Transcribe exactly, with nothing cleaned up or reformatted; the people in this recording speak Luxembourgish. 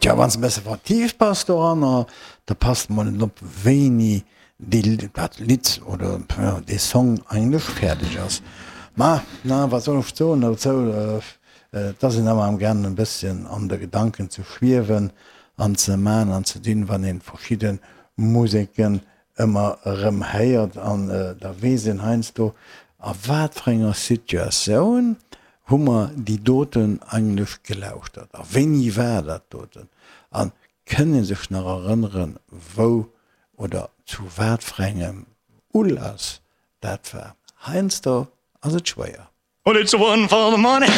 Tja, wann s de e bësse vertieft bass doranner, da passt mol net op, wéini déi, dat Lidd oder dee Song eigentlech fäerdeg ass. Ma, na, wat soll ech soen dozou? Et ass een ëmmer am gaangen e bësschen an de Gedanken ze schwiewen an ze man an ze dinn, wann een verschidde Museken ëmmer erëm héiert an da weess een heiansdo, a wat fir enger Situatioun hu mer déi doten eigentlech gelauschtert a wéini war dat doten a kënn ee sech nach erënneren, wou oder zu wat fir engem Ulass dat war. Heiansdo ass et schwéier. Well it's one for the money.